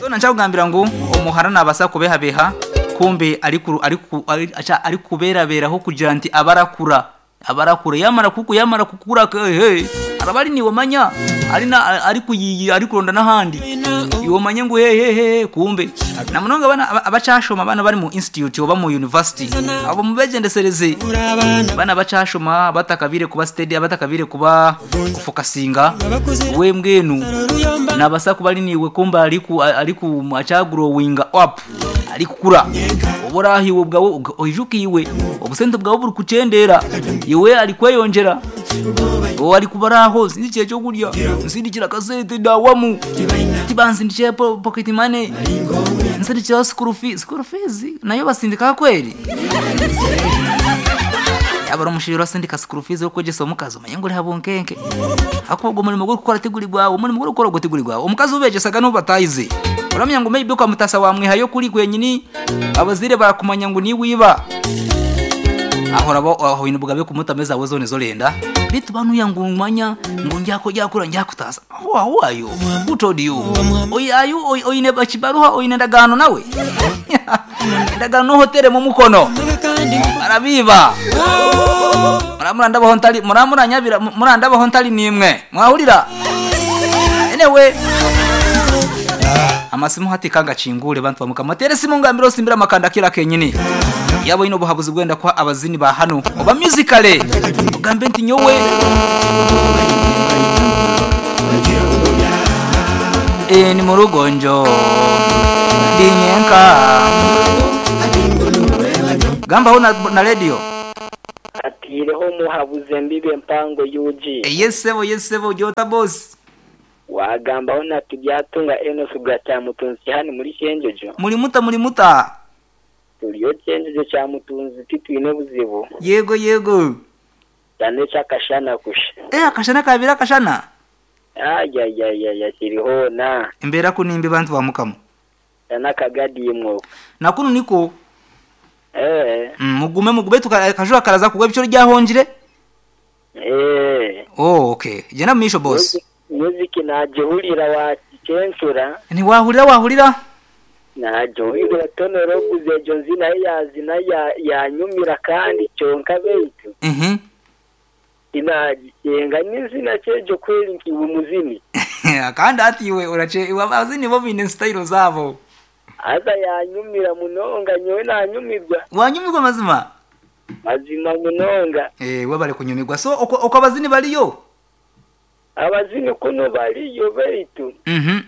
So nkyakugambira ngu omuhara nabaasa kubehabeha kumbe arikuberaberaho kugira nti abarakura abarakura yamara kuku yamara kukura hey, araba ari niwe manya ari na ari kuyiyi ari kuronda n'ahandi iwe manye ngu hey, hey, hey, kumbe na munonga abana abacashoma abana bari mu institute oba mu university abo mubegendesereze bana bacashoma batakabire kuba steady abatakabire kuba kufokasinga we mbwenu nabasa kuba ari niwe kumba ariku ariku acagrowinga up ari kukura oburahiwe bwawe oijukiwe obusente bwawe buri kucendera iwe ari kweyongera uwo ari kubaraho sindikiye cyo kurya nsindikira kasete dawamu tibansindikiye pocket money nsindikira school fees school fees nayo basindika kweli yaba ari asindika school fees yo kwegesa omukazi omanye ngu ori habunkenke hakuba ogwo omurimo gw'okukora tiguri gwawe omurimo gw'okukora ogwo tiguri gwawe omukazi obeegyesaga n'obu batayize oramanya ngu maybe okamutasa wamwihayo kuri kwenyini abazaire barakumanya ngu niiwe iba aho oraba aho oine obugabe kumutamu ezaawe zoona ezi orenda beitu banuya ngu manya ngu ndyakura ndyakutaasa who who are you who told you Oyi- are you oyi- oine ekibaruha oine endagaano nawe endagaano n'ohoteremu omukono barabiiba muramurandabaho ntari muramuranyabira murandabaho ntari nimwe mwahurira anyway amasimu hati kangakingure bantu bamukama tere simu ngambira osimbira amakanda kira kenyini yaba oyine obuhabuzi bwenda kuha abazini ba hano oba musicale ogambe nti nyowe e, ni mu rugonjo ndi nyenka gambaho na, na radio atiireho muhabuze mbibe mpango UG yesebo yesebo jota boss wagambaho na tubyatunga Enos bwa Cyamutunzi hano muri Cyenjojo muri muta muri muta turiyo Cyenjojo Cyamutunzi titwine buzibu yego yego cyane cyakashana kusha eh akashana kabira akashana ayayayaya kiriho na embera kunimbi bantu ba mukama n'akagadimwo nakunu niko eh mugume mugume tukajura karaza kugwa ibiciro ryahongire eh oh okay genda misho boss music najihurira wa kensura ntiwahurira wahurira najihurira tonero guze ejo nzina yazina yanyumira kandi cyonka beitu mhm inagikenga n'izina cyejo kweli nkiwe muzini kandi atiwe urace abazini bo bine style zabo aza yanyumira munonga nyowe nanyumirwa wanyumirwa mazima mazima munonga eh wabare kunyumirwa so uko, uko abazini bariyo abazini kuno bariyo beitu mhm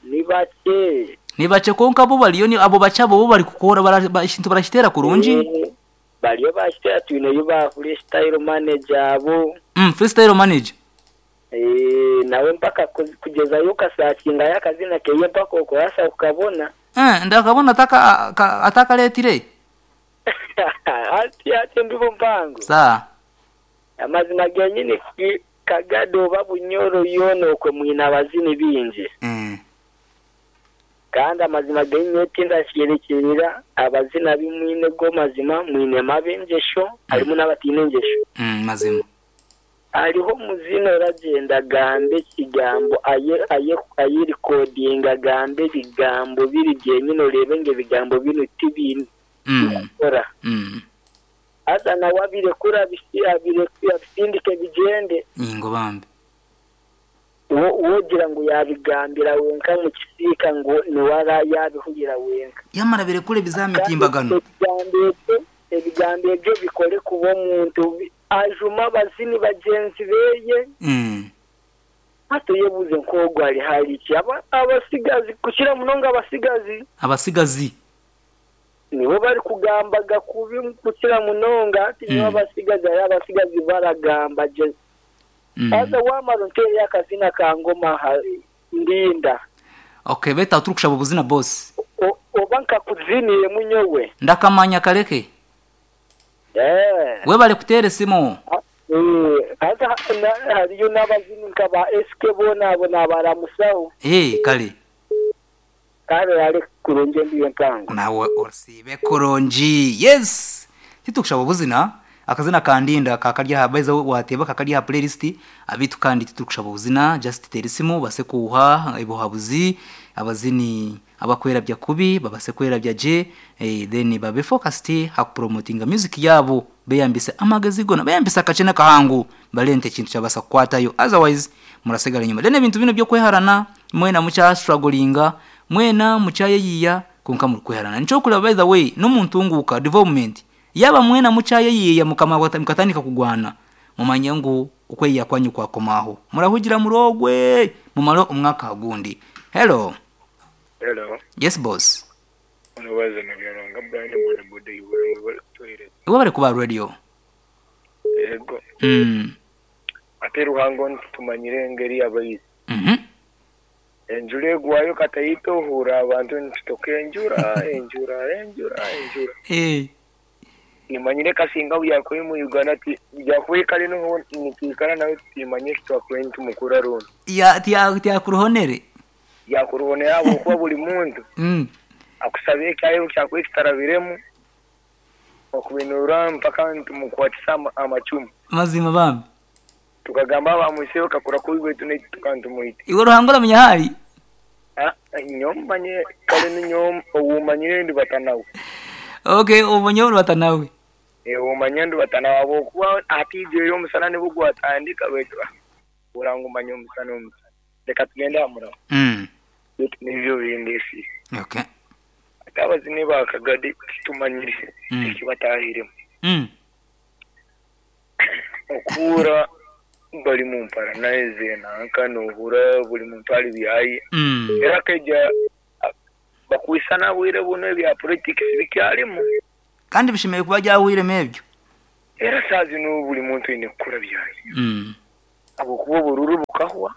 ni bake ni bace konka bo bariyo ni abo bace abo bo bari kukora bara- ikintu barashitera kurungi Eh, bariyo bashitera twineyo ba freestyle manager abo freestyle manager Eh, nawe mpaka kugezayo ukasakinga yakazina keye mpaka okurasa ukabona eh ndakabona ataka atakaletire ati ati ndibo mpango saa amazima genyini kagado oba bunyoro yoona okwe mwine abazini bingi kandi amazima genyini tindasherekerera abazina bimwine go mazima mwine mabi engesho harimu n'abatiine engesho mazima hariho muzina oragenda agambe ekigambo aye aye ayerikodinga agambe ebigambo biri byenyine orebe ngu ebigambo binu tibine kukora haza nawe abirekura abisindike bigyende ingo bambi wogira ngu yabigambira wenka mu kisiika ngu niwe ara yabihurira wenka yamara birekure bizamitimbagano ebigambo ebyo ebigambo ebyo bikore kuba omuntu ajuma abazini bagyenzi beye hati yebuze nk'ogwo ari hariki abasigazi kukira munonga abasigazi abasigazi nibo bari kugambaga kubi kukira munonga ati nibo abasigazi ari abasigazi baragamba je aza wamara ntere akazina ka ngoma ndinda okay beta turi kushaba ubuzina boss oba nkakuziniye munyowe ndakamanya kareke eh we bari kutere simu haza hariyo n'abazini nka ba SK bona abo nabaramusaho eh kale kale ari kurungi ndiyo mpango nawe usibe kurungi yes titukushaba ubuzina akazina kandinda kakarya baiza wateba kakarya playlist abitu kandi titukushaba ubuzina just tera isimu base kuha ibuhabuzi. Abazini abakwerabya kubi babase kwerabya gye, then babe focused ha kupromotinga music yabo, beyambise amagezi gona, beyambise akakye n'akahangu, barente ekintu kyabasa kukwatayo, otherwise murasigara enyuma. Then ebintu binu by'okweharana, mwena mukya strugglinga, mwena mukyayeyiya, konka murikweharana. Nikyo okureba, by the way, n'omuntunguka development, yaba mwena mukyayeyiya mukatandika kugwana, mumanye ngu okweyiya kwanyu kwakomaho. Murahugira murogwe mumare omwaka gundi. Hello. Hello. Yes, boss. Onobaza Nabyalonga Brian boda boda iwe webale kutuhereza. Iwe bari kuba radio. Yego. Ate Ruhango ntitumanyire engeri y'abayizi. Enjura egwayo katayita ohura abantu ntitutoka enjura enjura enjura enjura. Nimanyire kasinga byakuye mu Uganda ati byakuye kare noho nikwikara nawe timanye kitwakuye ntumukura runo. Ya tiyakuruhonere. Yakuruhonera abo kuba buri muntu. Akusabe kyayo kyakuye kitarabiremu. Okubinura mpaka ntumukwatisa amacumu. Mazima bambi. Tukagamba bamwiseyo kakura kubi wetu ne tukantumuite. Iwe Ruhango uramenya hari? Ah, nyombanye kare ninyom owumanyire ndi batanawe. Okay, umanye ndi batanawe. Umanye ndi batanawe abo kuba atije yo musana ne bugwatandika wetu. Urango manye umusana umusana. Reka tugende amura. Wetu nivyo bindesi. Okay. Atabazi ne bakagadi tumanyire ekibatahiremo. Okura bali mumpara naeze nanka nohura buli muntu ali byayi. Era keja bakwisana bwire buno ebya politics bikyalimu. Kandi bishimeye kuba byawire mebyo. Era sazi no buli muntu ine kukora byayi. Abo kuba bururu bukahwa.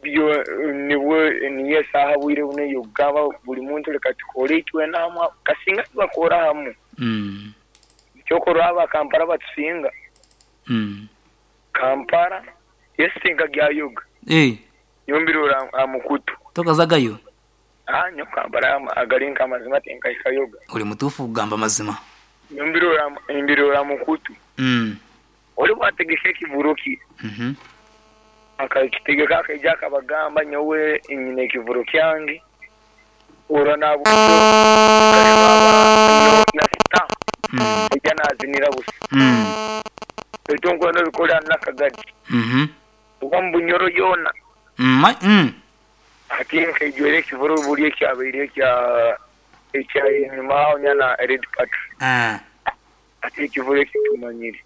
Byo niwe niye saha bwire buno yogaba buli muntu reka tukore itwe namwa kasinga bakora hamwe. Cyokora aba Kampala batusinga. Kampala yesinga gya yoga. Yombirura amukutu. Tokazagayo. Nyo Kampala agarinka amazima tenka ikayoga. Uri mutufu kugamba amazima. Yombirura imbirura amukutu. Ori bategeke kivuruki. Akakitegeka akaija akabagamba nyowe nyine kivuro kyange. Ora nabo no na sita. Ijana azinira busa. Etongo no bikora nakagadi. Uba mbunyoro yona. Ati nkejwere kivuro buri kyabaire kya ekya nyuma onyana red party. Ati kivuro kitumanyire.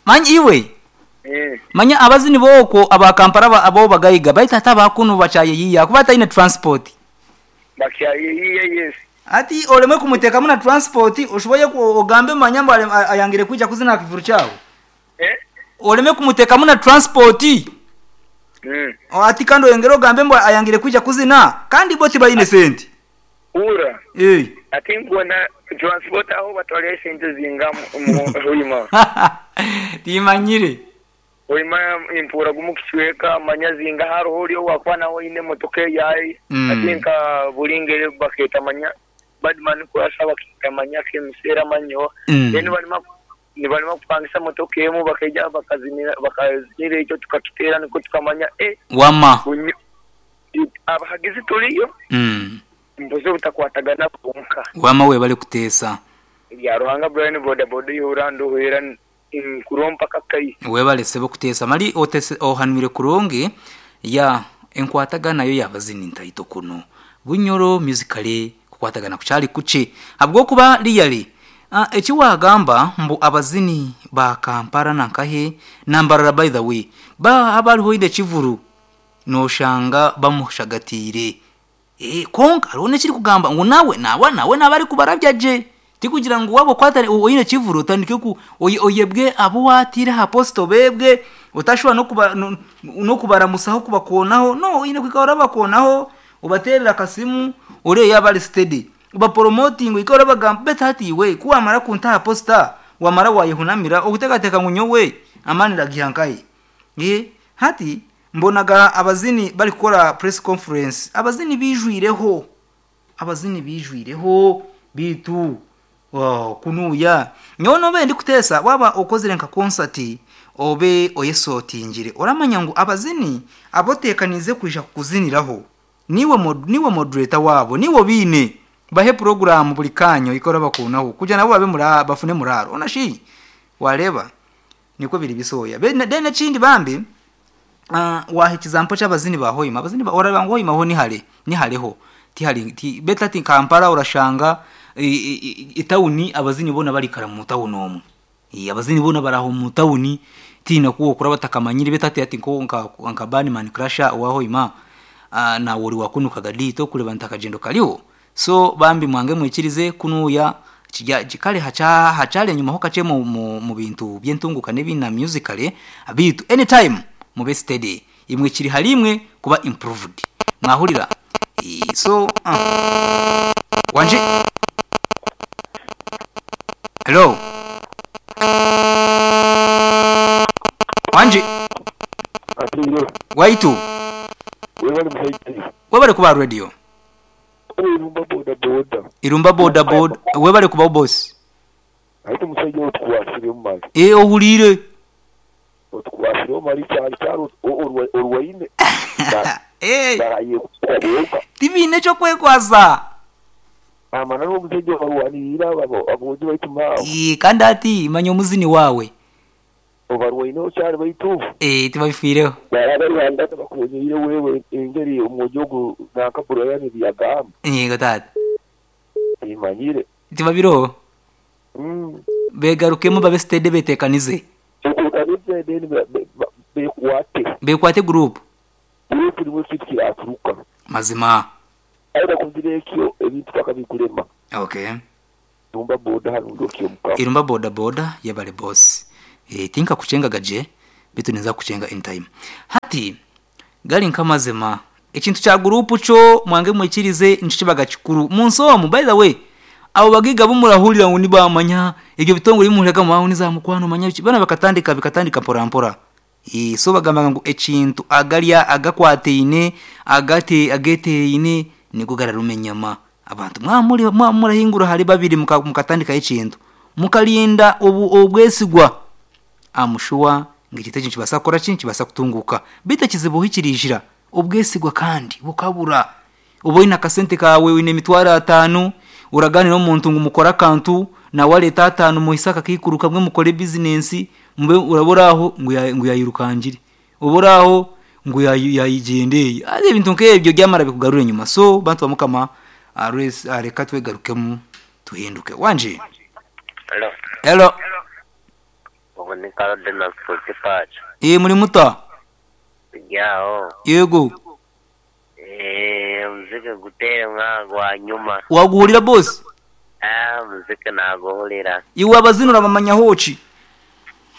Manyi iwe. Manya abazini boko aba Kampala abo bagayiga baita tabakuno bachayeyiya kuba taine transport. Bakyayeyiya yes. Ati olemwe kumuteka muna transport oshoboye ogambe manyambo ayangire kuja kuzina kivuru chawo. Oleme kumuteka muna transport. Ati kando yongera ogambe mbo ayangire kuja kuzina kandi boti bayine senti. Ura. Ati ngona transport aho batwale sente zinga mu hoima. Timanyire. Hoima impura gumukichweka manya zinga haro hori wakwana ine motoke yayi. Ati nka bulingere baketa manya badman kurasa baketa manya kemisera manyo. Then balima ni balima kupangisa motoke yemu bakeja bakazinira bakazinira icyo tukakitera niko tukamanya wama abahagizi tuliyo. Mbuze butakwatagana bonka. Wama we bali kutesa. Ya Ruhanga Brian boda boda yorando hera nkurompa kakai. We bali sebo kutesa mali otese ohanwire kuronge ya enkwatagana yo yabazini ntaito kuno. Bunyoro musically kukwatagana kuchali kuche. Habwo kuba liyali ekiwagamba mbu abazini ba Kampala nankahe nambarara by the way ba abariho inde kivuru noshanga bamushagatire. Konka arone kiri kugamba ngo nawe nawe nawe nabari kubarabya je tikugira ngo wabo kwatari oyine kivuru utandike ku oyebwe abo watira ha posto bebwe utashobora no kuba no kubaramusaho kubakonaho no ine kwikora bakonaho ubaterera kasimu ure yabari steady uba promoting ikora bagamba betati we kuwamara kunta posta wamara wayihunamira okutekateka ngunyowe amanira gihankaye. Hati mbonaga abazini bari gukora press conference abazini bijwireho bitu kunuya nyono be ndi kutesa waba okozere nka concert obe oyesotingire oramanya ngo abazini abotekanize kuja kuziniraho. Niiwe mod, niiwe moderator waabo, niiwe obaine. Bahe puroguraamu buri kaanya ohike orabakuunaho kugira nabo babe mura, bafune muraaro. Ona shi? Waareeba? Nikwo biri bisooya. Then, then ekindi bambi, ah, waaha ekizampo ky'abazini ba Hoima, abazini ba, orareeba ngu Hoima ho ni hare, ni hareho. Tihari, ti, beitu hati Kampala orashanga etawuni abazini boona barikara mu tawuni omwo. Abazini boona bari aho mu tawuni, tihaine oku wookora batakamanyire beitu hati hati nko nka nka Badman Crusher owa Hoima, naawe ori wa kunu Kagadi torikureeba nti akagyendo kariho? So bambi mwange mwikirize kunuuya kirya kare hakya hakyari enyima ho kakye mu mu mu bintu by'entunguuka n'ebindi na musically beitu anytime mube steady imwe kiri hariimwe kuba improved mwahurira so Wangi Hello Wangi Atwire. Waitu Webale mushaija. Webale kuba aha radio. Irumba boda boda. Irumba boda boda webale kubaho boss. Hati omushaija ogu otukwasireho mali. Eeh ohuriire. Otukwasireho mali kyari kyari orwaine. Eeh tibaine eky'okwekwasa. Amananu omushaija obarwaniriire aboojo baitu maawe. Eeh kandi hati manya omuzini waawe. Obarwaineho kyari baitu. Eeh tibabifiireho. Baraba bakonyeire wewe engeri omwojo ogu nanka Brian ebi yagamba. Yego taata. Timanyire. Tibabiroho. Begarukemu babe steady betekanize. Betekanize then bekwate. Bekwate group. Group nimwo ekintu kiraturuka. Mazima. Aye bakozire ekyo ebintu paka bikurema. Okay. Irumba boda hanu ndi okyomukama. Irumba boda boda yebare boss. Eeh tinkakuchengaga gye beitu ninza kukuchenga in time. Hati gari nkamazima ekintu kya group kyo mwange mwikirize nikyo kibaga kikuru munsi omu by the way abo bagaiga abu murahurira ngu nibamanya ebyo bitongore ebi muhuriraga ngu niza mukwano manya biki boona bakatandika bikatandika mpora mpora. Eeh so bagamba ngu ekintu agarya agakwataine agate ageteeraine nigo gararuma enyama. Abantu mwaba muri mwaba murahingura ahari babiri muka mukatandikaho ekintu, mukarinda obu obwesigwa, am sure ngu ekintu ekyo nikibaasa kukora ki? Nikibaasa kutunguuka. Beitu ekizibu ahu kiriijira, obwesigwa kandi bukabura. Oba oine akasente kaawe, oine emitwaro ataano, oragaanira omuntu ngu mukore akantu, nawe areete ataano muhise akakaikuru kamwe mukore bizinensi, mube oraba ori aho ngu ngu yaayirukangire. Oba ori aho ngu yaayigyenda eyo. Haza ebintu nk'ebyo byamara bikugarura enyima. So bantu ba Mukama, reka twegarukemu tuhinduke. Wangi? Hello. Hello. Ogu ni Cardinal Sports Park. Ee muri muta? Turi aho. Yego. Eeh omuziki guteere mwaha gwa nyuma. Waguhurira boss? Ah omuziki naguhurira. Iwe abazini orabamanyaho ki?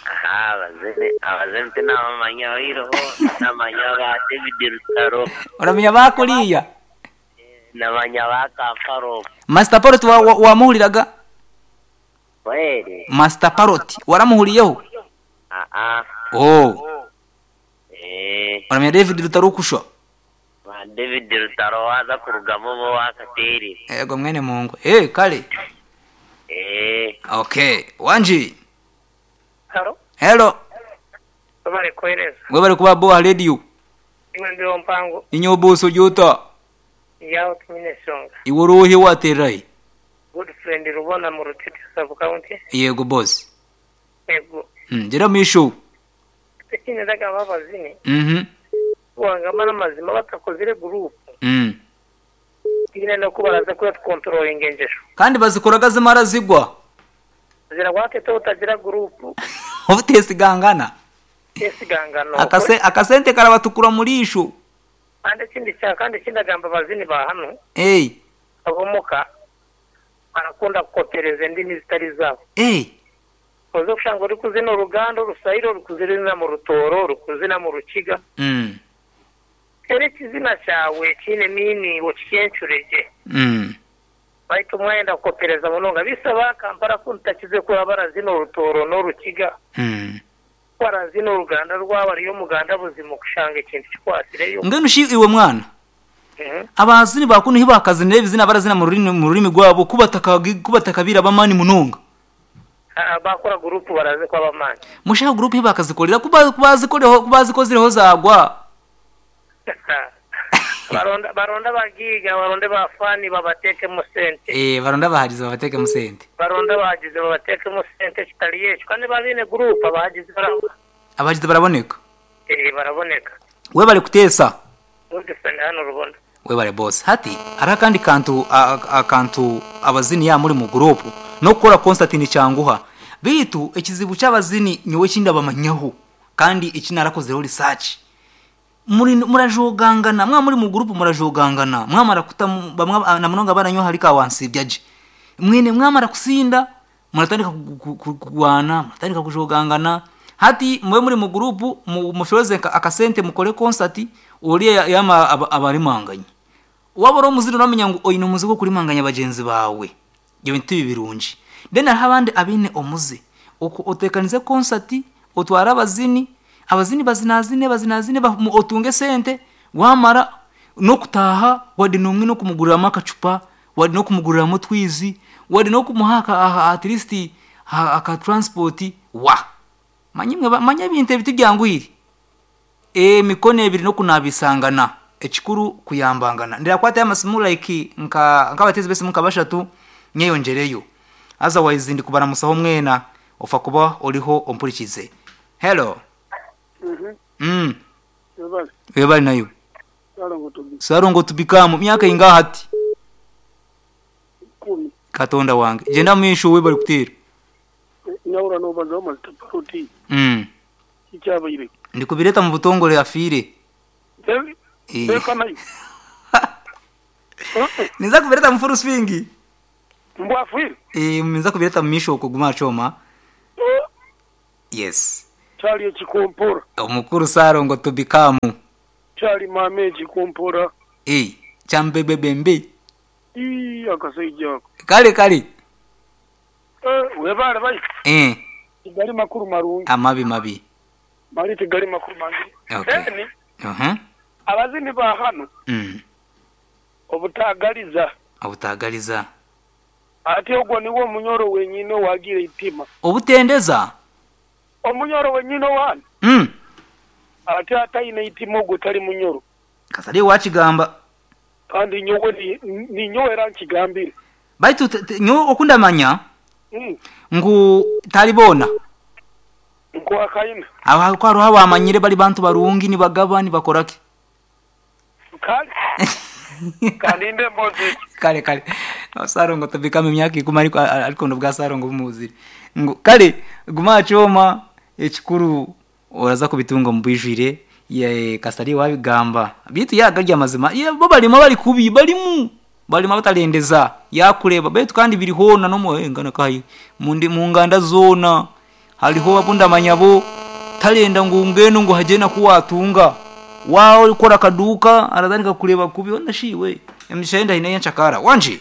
Aha abazini abazini tinabamanyaho oihireho namanya ba David Rutaro. Oramanya ba kuriya? Namanya ba Kampala okwo. Master Parrot wa wamuhuriraga? Kweri? Master Parrot waramuhuriyeho? Aa. Oh. Eeh. Oramanya David Rutaro kushwa? Ba David Rutaro waaza kurugamu oba owakateerire. Eego mwene Mungu. Eeh kare. Eeh. Okay. Wangi? Haro. Hello. Webale kuhereza. Webale kuba bo aha radio. Iwe mbeho mpango. Inyowe boss ori ota? Ndi aho tinyine nshonga. Iwe ori ohi owaterera hi? Good friend Rubona mu Rutete sub county. Yego boss. Yego. Gyera omumaisho. Ekindi ndagamba abazini. Wangamba n'amazima batakozire group. Tihaine n'oku baraza kutukonturoringa engyesho. Kandi bazikoraga zimara zigwa. Ziragwa hati obutagira group. Obutesigangana. Tesigangana. Akase akasente karabatukura omu riisho. Kandi ekindi kya kandi ekindi agamba abazini ba hanu. Eeh. Ab'omuka barakunda kukopereza endimi zitari zaabo. Eeh. Oza kushanga orikuzina Oruganda, Oruswahili, orikuzina mu Rutooro, orikuzina mu Rukiga. Teera ekizina kyawe ekiine meaning okikyencure gye. Baitu mwayenda kukopereza munonga. Beitu aba Kampala kunu tutakize kuraba barazina Orutooro n'Orukiga. Ku barazina Oruganda rwabo ari Omuganda buzima okushanga ekintu kikwatsireyo. Mbwenu shi iwe mwana, abazini ba kunu hi bakazinire ebizina barazina mu rurimi rwabo ku batakabaire ab'amaani munonga? Baakora guruupu baraze kuba ab'amaani. Mushaho guruupu hi baakazikorera ku baazikozireho zaagwa. Baronda baronde abagiiga baronde ba faani babateekemu sente. Eh, baronde abahagizi babateekemu sente. Baronde abahagizi babateekemu sente ekitari ekyo kandi baaba baine guruupu abahagizi baraba. Abahagizi baraboneka. Eh, baraboneka. Webale kuteesa. Godfrey hanu Rubona. Webale boss. Hati hariho akandi kantu akantu abazini yaaba muri mu guruupu n'okukora concert nikyanguha beitu ekizibu ky'abazini nyowe eki ndabamanyaho kandi eki narakozireho research muri murajogangana mwaba muri mu guruupu murajogangana mwamara kutamu bamwe na munonga abaranywa ahari ka wansibya gye mwine mwamara kusinda muratandika kurwana muratandika kujogangana hati mube muri mu guruupu mushoze akasente mukore concert oriya yaama abarimanganye. Waaba ori omuzini oramanya ngu oine omuze gw'okurimanganya bagyenzi baawe. Ebyo bintu tibi birungi. Then hariho abandi abaine omuze oku oteekanize concert otware abazini, abazini bazinazine bazinazine otunge esente waamara n'okutaaha wade n'omwe n'okumuguriramu akacupa, wade n'okumuguriramu otwizi, wade n'okumuha at least aka transport wa! Manya imwe manya ebintu ebi tibyanguhire. Emikono ebiri n'okunaabisangana. Ekikuru kuyambangana. Ndirakwatayo amasimu like nka nk'abateezi b'esimu nka bashatu nyeyongyereyo. Otherwise ndikubaramusaho mwena ofa kuba oriho ompurikize. Hello. Mm. Webale naiwe. Sarongo Tubikamu myaka eingaha hati? Katonda wange. Gyenda omu maisho webale kuteera. Nyahura nobazaho mazita paroti Mm. kikyabaire. Ndikubireeta mu butongore afiire. Reka nayo. Ninza kubireeta mu full swing. Mbu afiire? Ninza kubireeta mu maisho okwo guma aha kyoma. Yes. Kyali ekikompora. Omukuru Ssalongo Tubikamu. Kyali maama ekikompora. Kyambebebembe. Ii akasaija ako. Kale kale. Webale baitu. Tigali makuru marungi. Amabi mabi. Mali tigali makuru mangi. Okay. Then Uh-huh. abazini ba hano obutagaliza. Obutagaliza. Ati ogwo nigwo omunyoro wenyine owagira eitima. Obutendeza. Omunyoro wenyine owani? Ati ataine eitima ogwo tali munyoro. Kasarye wakigamba. Kandi nyowe ninyowe era nkigambire. Baitu nyowe oku ndamanya ngu tari boona. Nkwakaine. Ahabw'okuba hariho abamanyire bari bantu barungi nibagaba nibakora ki. Kale. Kandinde emboozi egi. Kale kale. Sarongo tubikamu emyaka ikumi ariko ariko nobwa Sarongo bumuzire. Ngu kale guma aha kyoma ekikuru oraza kubitunga omu bwijwire kasita ariiwe wabigamba. Beitu yaaba gari amazima bo barimu abari kubi barimu. Barimu abatarendeza yaakureeba beitu kandi biri hoona n'omu nganda nkahi omu nganda zoona hariho abu ndamanya bo tarenda ngu mbwenu ngu hagire naku waatunga. Waaba orikukora akaduuka aratandika kukureeba kubi hoona shi iwe emigisha ye ndaine eyencakara. Wangi?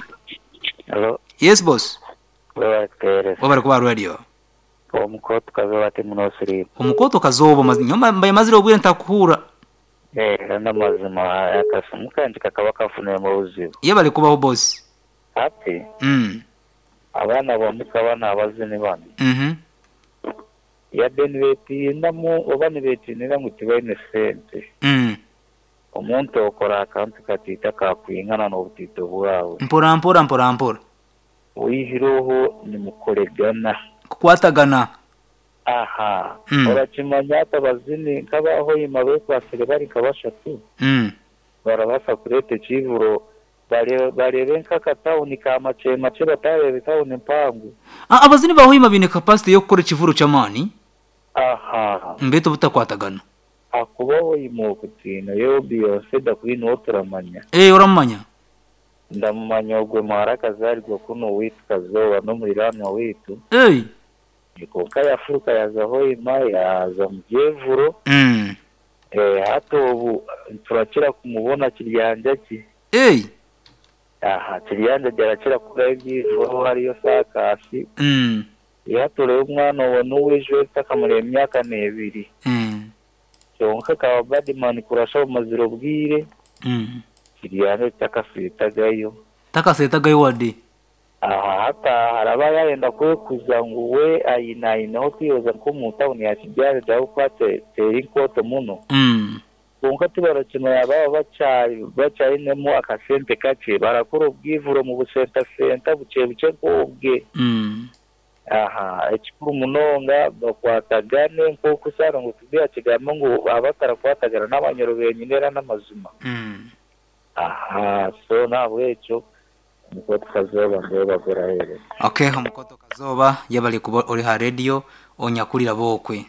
Hello. Yes boss. Webale kutuheereza. Webale kuba aha radio. Omukooto Kazooba ati munosiriimu. Omukooto Kazooba nyowe mbaire mazire obwire ntakuhuura. Era n'amazima akasimu kangye kakaba kafuniremu obuzibu. Yebare kubaho boss. Hati abaana b'omuka banu abazini banu yade nibetiinamu oba nibetiinira ngu tibaine sente. Omuntu okora akantu katiito akakwingana n'obutiito bwawe. Mpora mpora mpora mpora. Oihireho nimukoregana. Kukwatagana. Aha. Orakimanya hati abazini nk'aba Hoima bekwatsire bari nka bashatu barabaasa kureeta ekiivuro bareebe nk'akatawuni ka makye makye batareeba etawuni mpango. Abazini ba Hoima baine capacity y'okukora ekivuro ky'amaani. Aha. Beitu obutakwatagana. Ahakuba Hoima oku twineyo Beyonce da Queen ou turamanya. Ee oramumanya? Ndamumanya ogwe muhara akazarirwa kunu owaitu Kazooba n'omuriranwa waitu. Ei. Kwonka yafuruka yaaza Hoima yaaza omu byevuro. Hati obu turakira kumubona Kiryanjagi. Ei. Aha, Kiryanjagi arakira kukorayo ebyevuro hariyo saakaasi. Hati oreebe omwana owo n'ow'eiju eritakamara emyaka n'ebiri. Kwonka akaba Badman kurasha bumazire obwire. Kiryanjagi takaseetagayo. Takaseetagayo wade. Aha hati aha araba yayenda kwekuza ngu we aine aineho kwiroza nk'omu tawuni ya Kigali ahabw'okuba teri nkooto muno. Kwonka tibarakimanya baaba bakyari bakyainemu akasente kakye barakora obwivuro omu busenta-senta bukye-bukye nk'obwe. Aha, ekikuru munonga bakwatagane nk'oku Ssalongo Tubi yakigamba ngu abatarakwatagana n'abanyoro benyine era n'amazima. Aha, so n'ahabw'ekyo Omukoto Kazooba ndeeba guraheereza. Ok Omukoto Kazooba yebare kuba ori aha radio onyakurira bokwe.